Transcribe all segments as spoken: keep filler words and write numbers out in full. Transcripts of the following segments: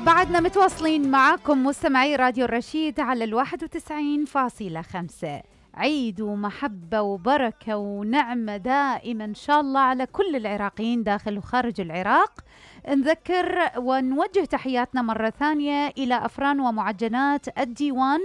بعدنا متواصلين معاكم مستمعي راديو الرشيد على الواحد وتسعين فاصلة خمسة. عيد ومحبة وبركة ونعمة دائما إن شاء الله على كل العراقيين داخل وخارج العراق. نذكر ونوجه تحياتنا مرة ثانية إلى أفران ومعجنات الديوان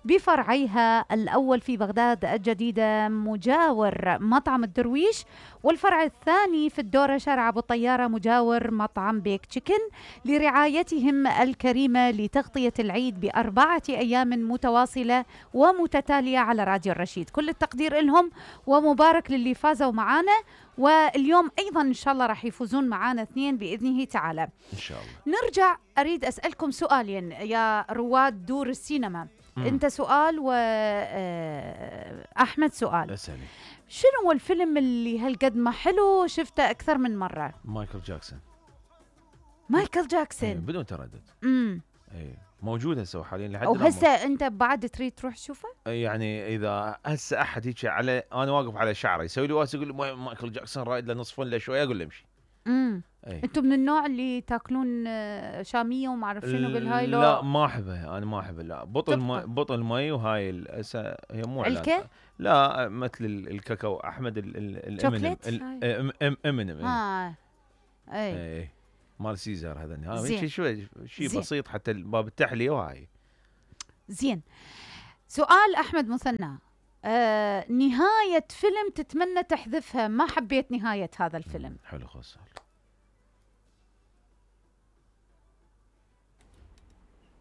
بفرعيها الأول في بغداد الجديدة مجاور مطعم الدرويش، والفرع الثاني في الدورة شارع أبو الطيارة مجاور مطعم بيك تشيكن، لرعايتهم الكريمة لتغطية العيد بأربعة أيام متواصلة ومتتالية على راديو الرشيد. كل التقدير لهم ومبارك للي فازوا معانا، واليوم أيضا إن شاء الله راح يفوزون معانا اثنين بإذنه تعالى إن شاء الله. نرجع أريد أسألكم سؤالين يا رواد دور السينما. مم. أنت سؤال وأحمد سؤال. أسألي. شنو هو الفيلم اللي هالقد ما حلو شفته أكثر من مرة؟ مايكل جاكسون. مايكل جاكسون. أيه بدون تردد. امم اي موجود هسه حاليا لحد او هسه انت بعد تريد تروح تشوفه؟ يعني اذا هسه احد هيك على انا واقف على شعره يسوي لي واسه يقول لي مايكل جاكسون رايد له نصفون له شويه اقول له امشي. امم انتم من النوع اللي تاكلون شاميه وما اعرف شنو بالهاي لو؟ لا ما احبه انا ما احبه. لا بطل مي بطل مي وهاي هسه هي مو علكه؟ لا مثل الكاكاو احمد الامنم الامنم اه اي مال سيزر هذا هذا شيء شيء بسيط حتى باب التحليه وهاي. زين سؤال احمد مثنى. آه نهايه فيلم تتمنى تحذفها، ما حبيت نهايه هذا الفيلم. حلو خلاص.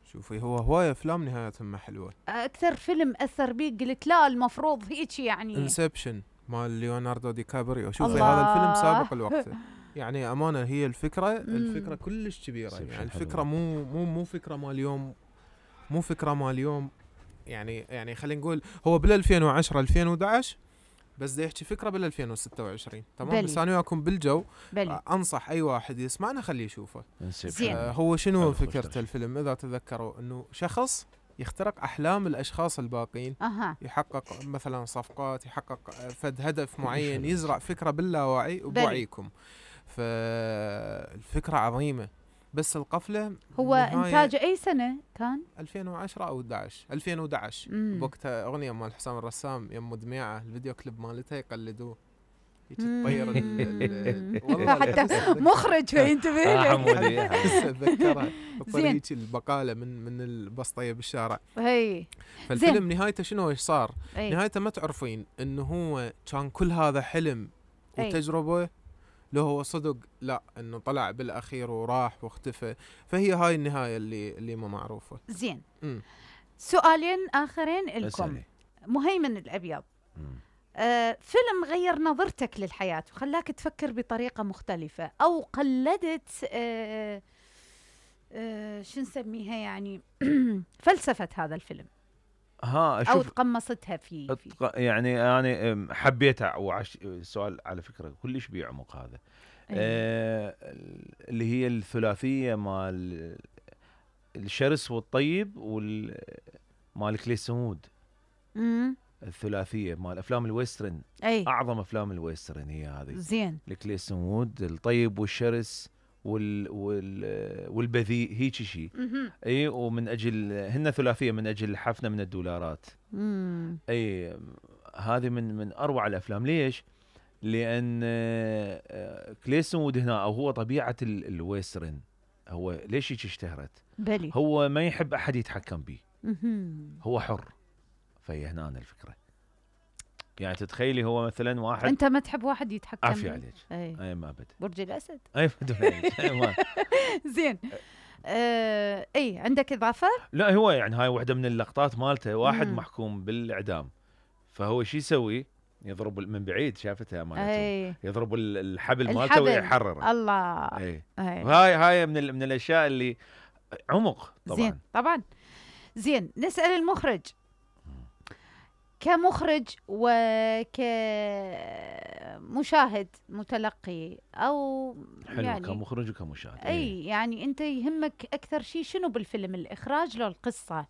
شوفي هو هوايه افلام نهايتهم ما حلوه. اكثر فيلم اثر بيك قلت لا المفروض هيك يعني انسبشن مال ليوناردو دي كابريو. شوفي هذا الفيلم سابق الوقت يعني امانه. هي الفكره الفكره كلش كبيره يعني الفكره مو مو مو فكره مال اليوم مو فكره مال اليوم يعني يعني خلينا نقول هو بال ألفين وعشرة ألفين وأحد عشر بس دا يحكي فكره بال ألفين وستة وعشرين تمام. بس انا وياكم بالجو بلي. انصح اي واحد يسمعنا خليه يشوفه. آه هو شنو فكره الفيلم اذا تذكروا انه شخص يخترق أحلام الأشخاص الباقين. أه. يحقق مثلا صفقات، يحقق فد هدف معين، يزرع فكرة باللاوعي وبوعيكم. فالفكرة عظيمة بس القفلة. هو إنتاج أي سنة كان؟ ألفين وعشرة أو أحد عشر ألفين وأحد عشر بوقتها أغنية مال حسام الرسام يم دميعة الفيديو كليب مالتها يقلدوه تطير والله حتى مخرج ينتبه له. اتذكرها طريقة البقالة من من البسطية بالشارع. هي فالفيلم نهايته شنو ايش صار؟ أي. نهايته ما تعرفين انه هو كان كل هذا حلم وتجربة لو هو صدق لا انه طلع بالاخير وراح واختفى. فهي هاي النهاية اللي اللي ما معروفة. زين م. سؤالين اخرين لكم. مهيمن الابيض. م. آه، فيلم غير نظرتك للحياة وخلاك تفكر بطريقة مختلفة أو قلدت آه آه شو نسميها يعني فلسفة هذا الفيلم ها أو تقمصتها في, في يعني أنا حبيتها. وعش السؤال على فكرة كلش بيعمق هذا. آه اللي هي الثلاثية مال الشرس والطيب والمال كليسمود. امم الثلاثيه مال افلام الويسترن. أي. اعظم افلام الويسترن هي هذه. زين الكليسن وود الطيب والشرس وال وال والبذيء هيك شيء. اي ومن اجل هن ثلاثيه من اجل حفنه من الدولارات. مم. اي هذه من من اروع الافلام. ليش؟ لان كليسن وود هنا او هو طبيعه الويسترن هو ليش هيك اشتهرت؟ بلي. هو ما يحب احد يتحكم به. هو حر. فهي هنا الفكرة. يعني تتخيلي هو مثلا واحد انت ما تحب واحد يتحكم عافية عليك. اي, أي ما ابد. برج الاسد. اي ما زين آه اي عندك اضافة؟ لا هو يعني هاي واحدة من اللقطات مالته واحد مم. محكوم بالاعدام فهو شو يسوي؟ يضرب من بعيد شافتها مالته يضرب الحبل مالته ويحرره. الله. اي هاي هاي من من الاشياء اللي عمق طبعا. زين طبعا. زين نسأل المخرج كمخرج وكمشاهد متلقي او حلو يعني كمخرج وكمشاهد. اي ايه. يعني انت يهمك اكثر شيء شنو بالفيلم، الاخراج لو القصه؟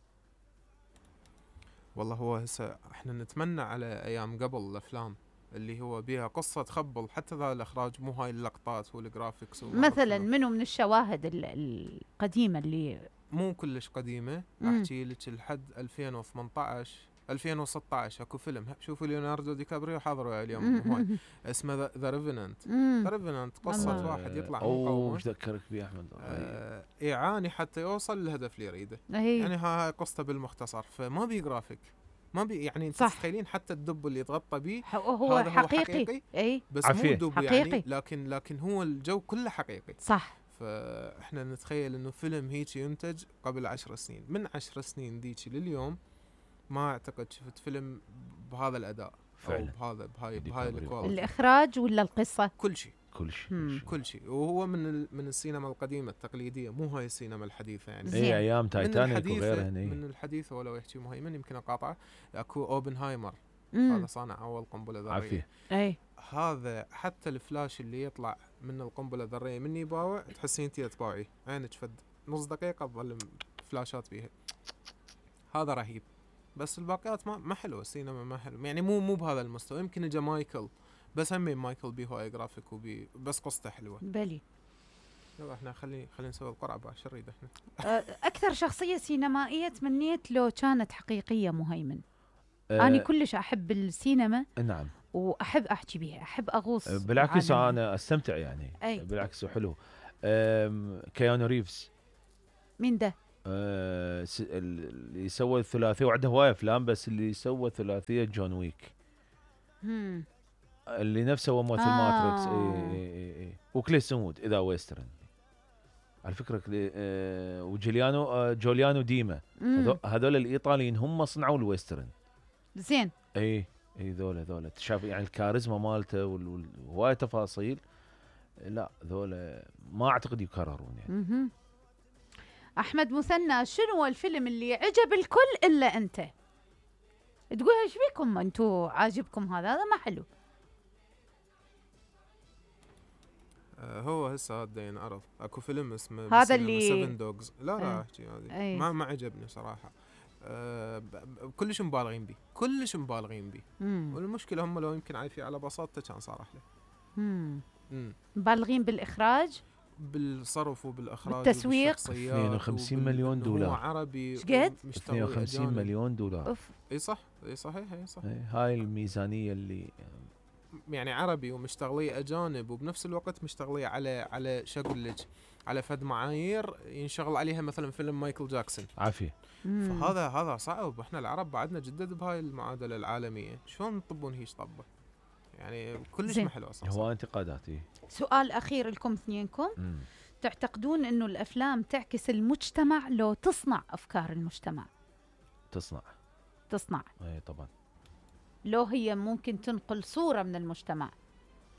والله هو هسه احنا نتمنى على ايام قبل الافلام اللي هو بيها قصة تخبل، حتى ذا الإخراج مو هاي اللقطات والجرافيكس. مثلا منو من الشواهد القديمة اللي مو كلش قديمة، أحكي لك لحد ألفين وثمانية عشر ألفين وستة عشر اكو فيلم شوفوا ليوناردو دي كابريو حاضروا اليوم هاي اسمه ذا ريفننت. ذا ريفننت قصة واحد يطلع مقاومة. وش ذكرك بيه احمد؟ آه يعاني حتى يوصل للهدف اللي يريده. أيه. يعني هاي قصته بالمختصر، فما بي جرافيك، ما بي يعني انت تتخيلين حتى الدب اللي يتغطى به هو هذا حقيقي. هو حقيقي اي بس مو دب حقيقي. يعني، لكن لكن هو الجو كله حقيقي. صح. فاحنا نتخيل انه فيلم هيك ينتج قبل عشر سنين، من عشر سنين ذيك لليوم ما اعتقد شفت فيلم بهذا الاداء فعلا، او بهذا بهاي بهاي الكواليتي. الاخراج ولا القصه؟ كل شيء كل شيء كل شيء. وهو من من السينما القديمه التقليديه، مو هاي السينما الحديثه يعني. اي ايام تايتانيك وغيرها. من الحديثه ولو يحكي مهيمن يمكن اقاطعه، اكو اوبنهايمر هذا صانع اول قنبله ذريه. اي هذا حتى الفلاش اللي يطلع من القنبله الذريه من يباوع تحسين انت تباوعي عينك فد نص دقيقه تظل فلاشات بيها. هذا رهيب. بس الباقيات ما ما حلوه، السينما ما حلو يعني، مو مو بهذا المستوى. يمكن اجى مايكل، بس هم مايكل بيه هواي جرافيك وبي بس قصته حلوه. بلي يلا احنا خلي خلينا نسوي القرعه بقى، شو نريد احنا؟ اكثر شخصيه سينمائيه تمنيت لو كانت حقيقيه مهيمن؟ أه انا كلش احب السينما. نعم. واحب احكي بيها، احب اغوص. بالعكس انا استمتع يعني. أي. بالعكس حلو. كيانو ريفز. مين ده؟ آه اللي سوى الثلاثيه، وعنده هوايه افلام، بس اللي سوى ثلاثيه جون ويك. هم. اللي نفسه هو ممثل آه. ماتريكس. اي اي اي وكليس مود اذا ويسترن على فكره. آه وجوليانو آه جوليانو ديما، هذول الايطاليين هم صنعوا الويسترن. زين. اي اي ذولا ذولا تشاف يعني الكاريزما مالته وهواي تفاصيل. لا ذولا ما اعتقد يكررون يعني. م-م. احمد مثنى، شنو الفيلم اللي عجب الكل الا انت؟ تقول ايش بيكم انتو عاجبكم هذا؟ هذا ما حلو. آه هو هسه هذا ينعرض اكو فيلم اسمه هذا اللي سيفن دوجز. لا لا احكي هذه ما ما عجبني صراحه. آه كلش مبالغين بيه، كلش مبالغين بيه. والمشكله هم لو يمكن عايفين على بساطته كان صار احلى. امم مبالغين بالاخراج، بالصرف وبالاخراج بالتسويق. اثنين وخمسين مليون دولار. هو عربي شقد؟ اثنين وخمسين مليون دولار. أوف. اي صح، اي صحيح، اي صح. هاي الميزانيه اللي يعني عربي ومشتغليه اجانب، وبنفس الوقت مشتغليه على على شو اقول لك، على فد معايير ينشغل عليها مثلا فيلم مايكل جاكسون. عافيه. فهذا هذا صعب. احنا العرب بعدنا جدد بهاي المعادله العالميه، شلون نطبون هيش طبه يعني؟ كلش ما حلو اصلا. هو انتقادات. إيه؟ سؤال اخير لكم اثنينكم. مم. تعتقدون انه الافلام تعكس المجتمع لو تصنع افكار المجتمع؟ تصنع تصنع اي طبعا. لو هي ممكن تنقل صوره من المجتمع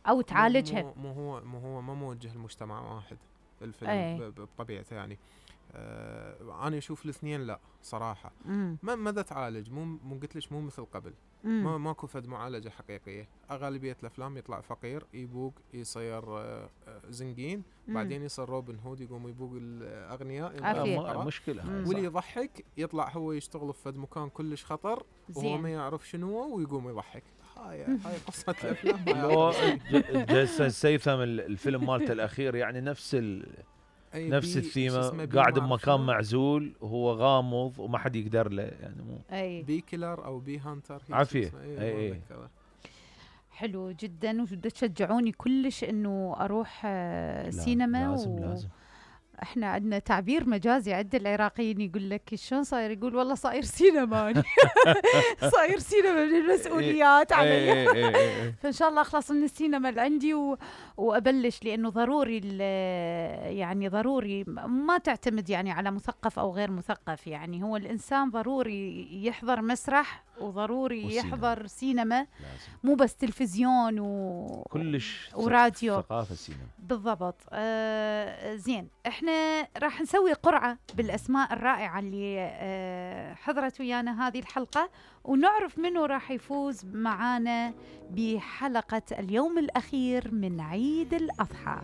او تعالجها. مو هو مو هو ما موجه المجتمع واحد الفيلم بطبيعته يعني. آه انا اشوف الاثنين لا صراحه. مم. ما ماذا تعالج؟ مو مو قلت ليش مو مثل قبل. ما ماكو فد معالجه حقيقيه. اغلبيه الافلام يطلع فقير يبوق يصير آه زنقين، بعدين يصير روبن هود يقوم يبوق الاغنياء. مشكله. واللي يضحك يطلع هو يشتغل في فد مكان كلش خطر وهو ما يعرف شنو ويقوم يضحك. هاي هاي قصه الافلام. جيسون ستاثام الفيلم مالته الاخير يعني نفس ال نفس الثيمه، قاعد بمكان معزول وهو غامض وما حد يقدر له يعني. مو أي. بي كيلر او بي هانتر. عافيه. اي اي حلو جدا. وتشجعوني كلش انه اروح آه سينما. لازم و... لازم. احنا عندنا تعبير مجازي عند العراقيين يقول لك شلون صاير؟ يقول والله صاير سينما. صاير سينما من المسؤوليات علي. فان شاء الله اخلص من السينما اللي عندي و... وابلش، لانه ضروري يعني ضروري ما تعتمد يعني على مثقف او غير مثقف. يعني هو الانسان ضروري يحضر مسرح وضروري والسينما. يحضر سينما لازم. مو بس تلفزيون و... كلش وراديو. ثقافه السينما بالضبط. آه زين، احنا راح نسوي قرعه بالاسماء الرائعه اللي آه حضرت ويانا هذه الحلقه، ونعرف منو راح يفوز معانا بحلقه اليوم الاخير من عيد الاضحى.